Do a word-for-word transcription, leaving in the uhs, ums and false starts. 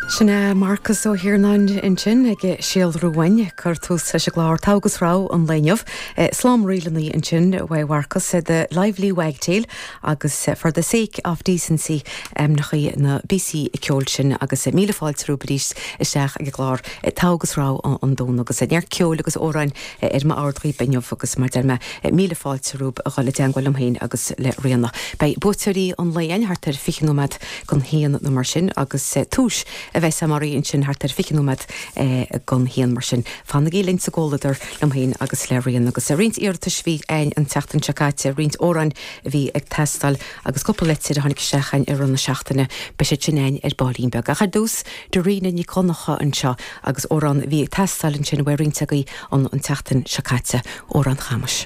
Sin Marcas Ó hIarnáin ansin ag síolrú uainn cur tús leis an gclár Togha agus Rogha an lae inniu. Slám ríleanna ansin uaidh Mharcas The Lively Wagtail agus for the sake of decency ainmneacha na bpíosaí ceoil sin agus míle fáilte romhaibh arís isteach ag an gclár Togha agus Rogha an Domhnaigh agus neart ceoil agus amhráin ar m'ord daoibh inniu agus mar deir mé míle fáilte romhaibh a dhul i dteagmháil liom féin agus le Ríona. Beidh buaiteoirí an lae againn thart ar fiche nóiméad don haon nó mar sin agus túis a bheidh samarí ansin thart ar fiche nóiméad don haon mar sin. Fanaigí linn sa gcomhluadar liom féin agus le Ríona agus roinnt iarratais a bhí againn an tseachtain seo caite roinnt amhráin a bhí ag teastáil agus cúpla leitir a tháinig isteach ar an na seachtaine beidh sé sin againn ar baillín beag. Ach ar dtús Dairena Nic Dhonncha anseo agus amhrán a bhí ag teastáil ansin uaidh roinnt agaibh an an tseachtain seo caite amhrán Chamais.